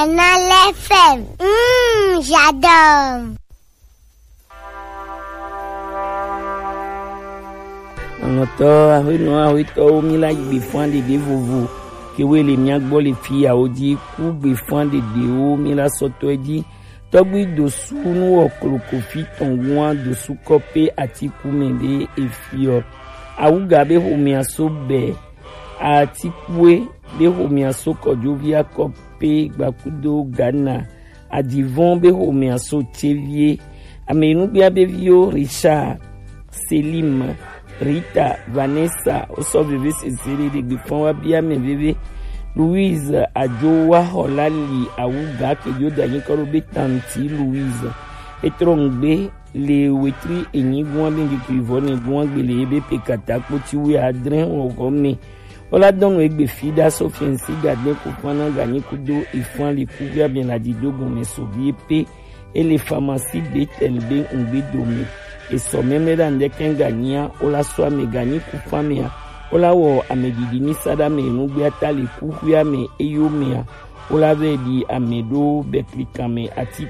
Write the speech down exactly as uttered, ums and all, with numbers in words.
Canal F M. Mmh, j'adore. Aŋɔtɔ, aƒenɔ, aƒetɔwo, mi la gbe fã ɖeɖe vovo kewoe le mia gbɔ le fiyawo dzi. Ku gbe fã ɖeɖewo mi la sɔtɔe dzi. Tɔgbi dosu nu wɔ kloko fi tɔn gua dosu kɔpe atiku mɛ ɖe efiɔ. Awuga be xomia so bɛ. Atikue be xomia so kɔdzovi akɔ pe gbakudo Ghana. Adivɔn be xomea so cevie. Ame nugbea be viwo Richard, Selim, Rita, Vanessa, wosɔ veve sese ɖe ɖe gbe fɔn wa bia mɛ veve. Louise Ajowa Xɔla li awu ga ke yo da nyi kɔ ɖo be tanti Louise. Etrɔ ŋgbe le wetri enyi gua be ŋkeke vɔ ne gua gbe le ebe pe kata kpoti wu adre xɔxɔ me. Wola dɔnu egbe fi ɖa so fiɛnsi gagbɛ ko fana ganyi kudo efan le kuxia mi la dido gɔme so vie pe. Ele famasi Betel be ŋgbe dome. Esɔ mɛmɛ ɖa ŋdɛkɛ ganyia wola sɔ ame ganyi ku famea. Wola wɔ ame didi ni sa ɖa me nugbea ta le kuxia me eyo mea. Wola vɛ ɖi ame ɖo bɛklikan me ati